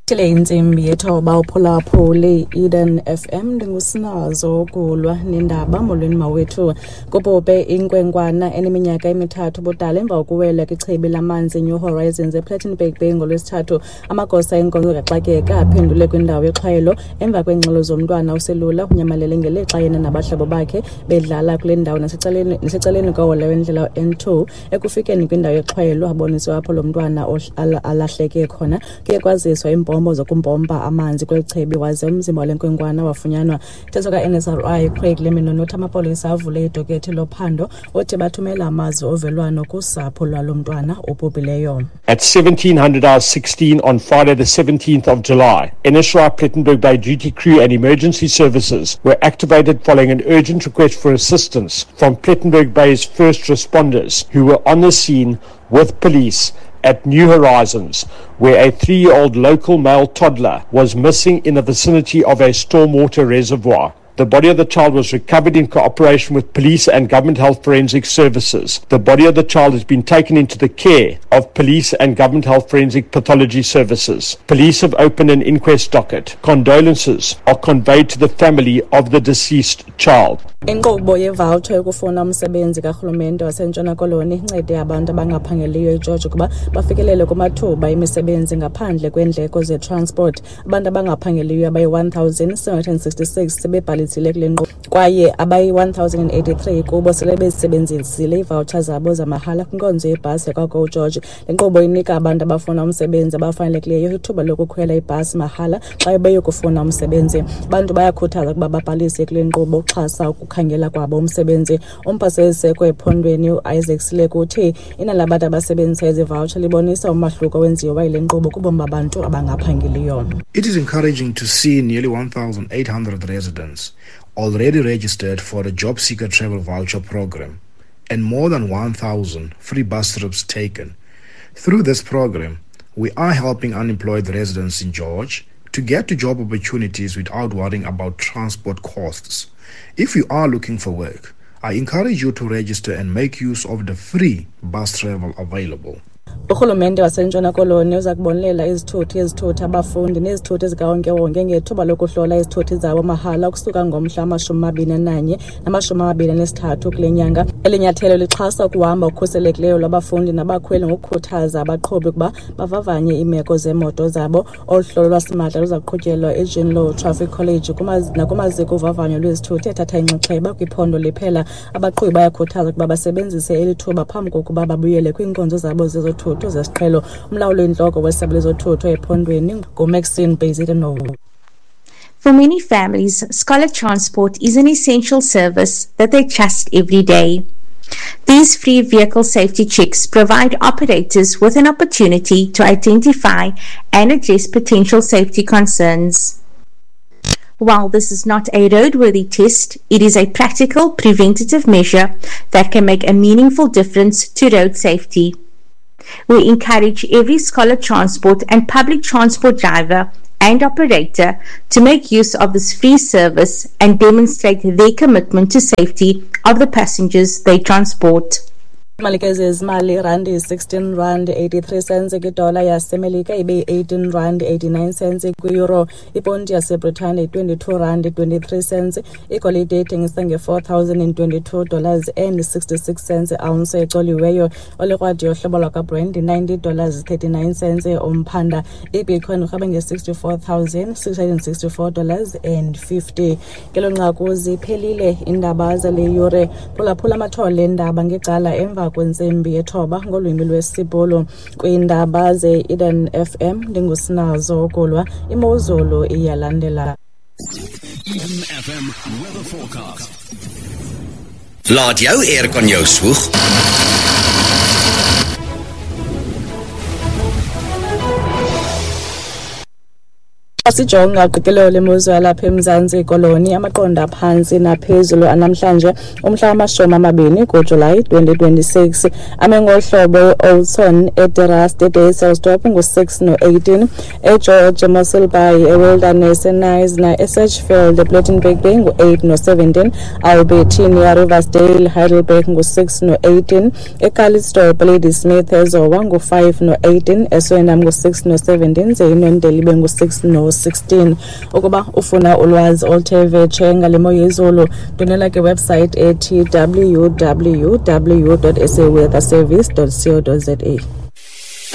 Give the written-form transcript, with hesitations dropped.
Thile intsimbi yethoba uphulaphule Eden FM ndingusinazo kulwa nendaba. Molweni mawethu. Kubhubhe inkwenkwana eneminyaka emithathu ubudala emva kokuwela kwichibi lamanzi New Horizons ePlettenberg Bay ngoLwesithathu. Amagosa enkonzo kaxakeka aphendule kwindawo yexhwayelo emva kweengxelo zomntwana oselula unyamalele ngelixa yena nabahlobo bakhe bedlala kule ndawo nasecaleni kohola wendlela N2. Ekufikeni kwindawo yexhwayelo aboniswe apho lo mntwana alahleke khona. Kuye kwaziswa iimpompo zokumpompa amanzi kweli chibi waze umzimba wale nkwenkwana wafunyanwa. Mthetho ka-NSRI Craig Lemino nothi amapolisa avule idokethi lophando, uthi bathumela amazwi ovelwano kusapho lwalo mntwana obhubhileyo. At 1700 hours 16 on Friday the 17th of July, NSRI Plettenberg Bay duty crew and emergency services were activated following an urgent request for assistance from Plettenberg Bay's first responders who were on the scene with police at New Horizons, where a 3-year-old local male toddler was missing in the vicinity of a stormwater reservoir. The body of the child was recovered in cooperation with police and government health forensic services. The body of the child has been taken into the care of police and government health forensic pathology services. Police have opened an inquest docket. Condolences are conveyed to the family of the deceased child. Inkqubo yevoucher yokufuna umsebenzi karhulumente waseNtshona Koloni incede abantu abangaphangeliyo eGeorge ukuba bafikelele kumathuba emisebenzi ngaphandle kweendleko zetransport. Abantu abangaphangeliyo abayi-1,766 sebebhalisile kule nkqubo kwaye abayi-1,083 kubo sele bezisebenzisile iivoucher zabo zamahala kwinkonzo yebhasi yakwaGo George. Le nkqubo inika abantu abafuna umsebenzi abafanelekileyo ithuba lokukhwela ibhasi mahala xa beyokufuna umsebenzi. Abantu bayakhuthazwa ukuba babhalise kule nkqubo ukuxhasa ukukhangela kwabo umsebenzi. Umphathiswa ephondweni uIsaac Sileku uthi inani labantu abasebenzisa ezi voucher libonisa umahluko owenziwa yile nkqubo kubomi babantu abangaphangeliyo. It is encouraging to see nearly 1,800 residents already registered for the Job Seeker Travel Voucher Program and more than 1,000 free bus trips taken. Through this program, we are helping unemployed residents in George to get to job opportunities without worrying about transport costs. If you are looking for work, I encourage you to register and make use of the free bus travel available. Urhulumente waseNtshona Koloni uza kubonelela izithuthi ezithutha abafundi nezithuthi zikawonkewonke ngethuba lokuhlola izithuthi zabo mahala ukusuka ngomhla wama-21 nama-23 kule nyanga. Eli nyathelo lixhasa ukuhamba okukhuselekileyo lwabafundi nabakhweli ngokukhuthaza abaqhubi ukuba bavavanye iimeko zeemoto zabo. Olu hlolo lwasimahla luza kuqhutyelwa eJean Traffic College nakumaziko ovavanyo lwezithuthi ethatha inxaxheba kwiphondo liphela. Abaqhubi bayakhuthazwa ukuba basebenzise eli thuba phambi kokuba babuyele kwiinkonzo zabo zezothutho zesiqhelo. Umlawuli oyintloko wesebe lezothutho ephondweni nguMaxine Bezuidenhout. For many families, scholar transport is an essential service that they trust every day. These free vehicle safety checks provide operators with an opportunity to identify and address potential safety concerns. While this is not a roadworthy test, it is a practical preventative measure that can make a meaningful difference to road safety. We encourage every scholar transport and public transport driver and operator to make use of this free service and demonstrate their commitment to safety of the passengers they transport. Imali ke zezimali, irandi 16 rand 83 cents kwidola yaseMelika, ibe yi-18 rand 89 cents kwi-euro. Iponti yaseBritane 22 rand 23 cents. Igolide ithengisa nge-$4,022 dollars and 66 cents ounce ecoliweyo. Olikrwadi yohlobo lwakwaBrand 90 dollars 39 cents umphanda. Ibitcoin urhabe nge-$64,664 dollars and 50. Ngelo nqaku ziphelile iindaba zale yure. Phulaphula amathole eendaba ngecala emva kwentsimbi yethoba ngolwimi lwesiBhulu. Kwiindaba ze-Eden FM ndingusinazo Kulwa. Imozulu iyalandela. Eden FM weather forecast. Laat jou aircon jou swoeg. Sijonga uqikelelo lemozulu yalapha eMzantsi Koloni, amaqondo aphantsi naphezulu anamhlanje umhla wama-20 kuJulayi 2026 ame ngohlobo: eOudtshoorn, eDe Rust, eDysselsdorp ngu-6 no-18, eGeorge, eMossel Bay, eWilderness, eKnysna, eSedgefield, ePlettenberg Bay ngu-8 no-17, Albertinia, Riversdale, Heidelberg ngu-6 no-18, eCalitzdorp, Ladysmith, eZowa ngu-5 no-18, eSwellendam ngu-6 no-17, ze iNoordende ibe ngu-6 no-16. Ukuba ufuna ulwazi oluthe vetshe ngale mo yezulu, ndwendwela kwiwebsite ethi www.saweatherservice.co.za.